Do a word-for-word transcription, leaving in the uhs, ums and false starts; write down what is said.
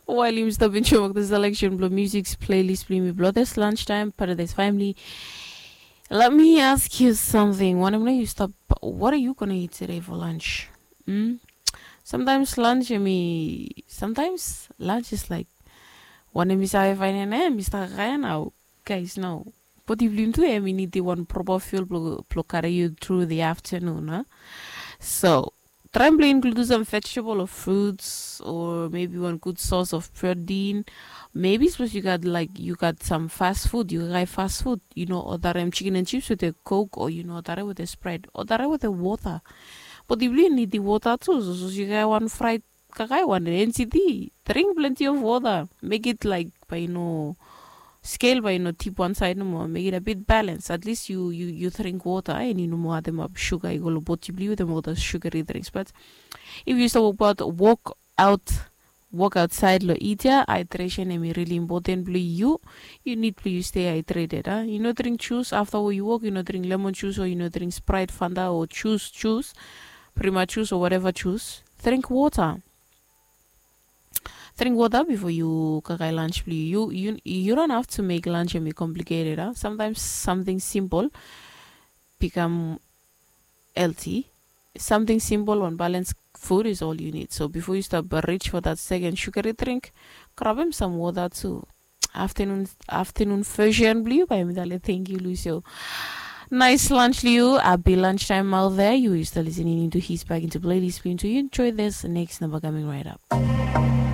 While yumi stap enjoy the selection blong music playlist blong yumi blong this lunch time, Paradise Family. Let me ask you something. Wanem nao yu stap, what are you gonna eat today for lunch? Mm? Sometimes lunch, I mean, sometimes lunch is like, wanem mi save faenem, mi stap kakae nao. Guys, no. Bodi blong yu tu, I mean, i nidim wan proper fuel blong, blong carry you through the afternoon, huh? So, traem blong include some vegetable or fruits or maybe one good source of protein. Maybe suppose you got, like, you got some fast food, yu kakae fast food, yu no odarem chicken and chips with a Coke, or yu no odarem with a Sprite, odarem with a water. Bodi blong yu nidim water tu, so, so yu kakae wan fried, kakae wan N C D, drink plenty of water. Make it like, bae yu no scale, bae yu no tip wan saed nomo. Make it a bit balance. At least yu, yu, yu drink water, eh, and yu no moa ademap sugar i go long bodi blong yu wetem ol those sugary drinks. But if yu stap wokbaot, wok aot, wok aotsaed long it ia, hydration hemi really important blong yu. Yu nid blong yu stay hydrated, ah. Yu no drink juice afta we yu wok, yu no drink lemon juice o yu no drink Sprite, Fanta o juice, juice, Prima juice o whatever juice. Drink water. Drink water before yu kakae lunch blong yu. Yu, yu, yu don't have to make lunch hemi complicated, ah. Sometimes something simple become healthy. Something simple, one balanced food is all you need. So before you start reach for that second sugary drink, grabem some water tu. Afternoon, afternoon version blong yu, bae mi talem thank you, Lucio. Nice lunch, Liu. Happy lunchtime out there. You is still listening into his back into playlist blong yu. Enjoy this next number coming right up.